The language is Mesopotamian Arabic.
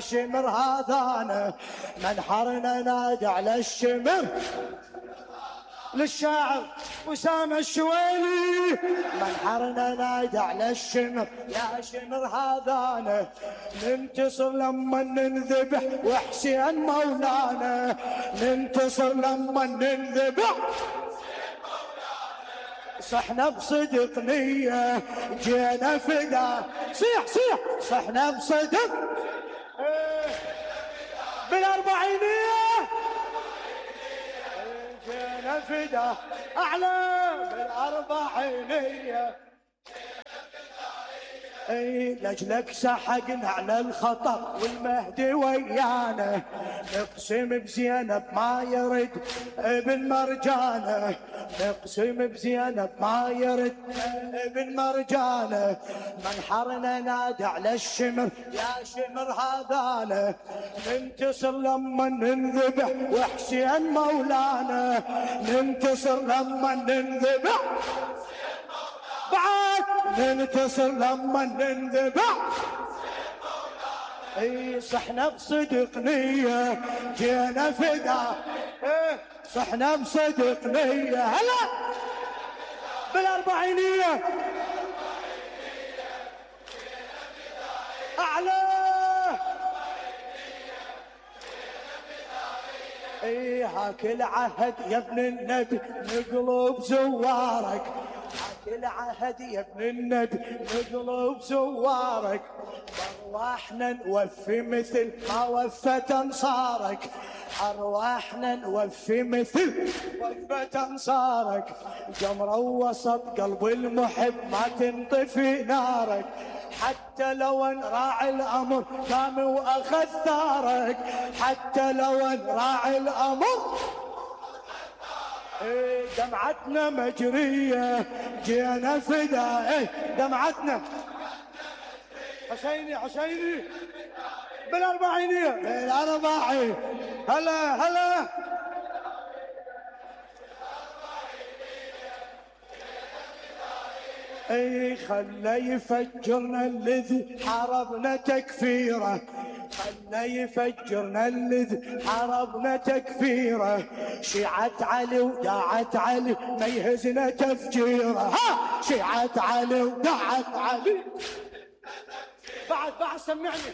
الشمر هذانا منحرنا نادي على الشمر. للشاعر وسام الشويلي منحرنا نادي على الشمر. يا شمر هذانا ننتصر لما ننذبح وحسين مولانا. ننتصر لما ننذبح صحنا بصدق نية جينا فدا. صيح صيح صحنا بصدق بالأربعينية جينا فدا أعلى بالأربعينية. اي لجلك سحقنا على الخطر والمهدي ويانا. نقسم بزينب ما يرد ابن مرجانه. نقسم بزينب ما يرد ابن مرجانه. منحرنا نادي على الشمر. يا شمر هذانا ننتصر لما ننذبح وحسين مولانا. ننتصر لما ننذبح بعد ننتصر لما ننذبح. اي صحنا بصدق نية جينا فدا. صحنا بصدق نية هلا بالأربعينية أعلى. اي هاك العهد يا ابن النبي نقلب زوارك. العهد يا ابن النبي نقلب زوارك. ارواحنا نوفي مثل ما وفت انصارك. ارواحنا نوفي مثل وفت انصارك. جمرة وسط قلب المحب ما تنطفي نارك. حتى لو راعي الامر قام واخذ ثارك. حتى لو راعي الامر دمعتنا مجرية جينا فدا. دمعتنا حسيني حسيني بالأربعينية بالأربعين. هلا هلا اي خلى يفجرنا الذي حاربنا تكفيره. خلى يفجرنا الذي حاربنا تكفيره. شيعة علي وداعت علي ما يهزنا تفجيره. ها شيعة علي وداعت علي بعد سمعني.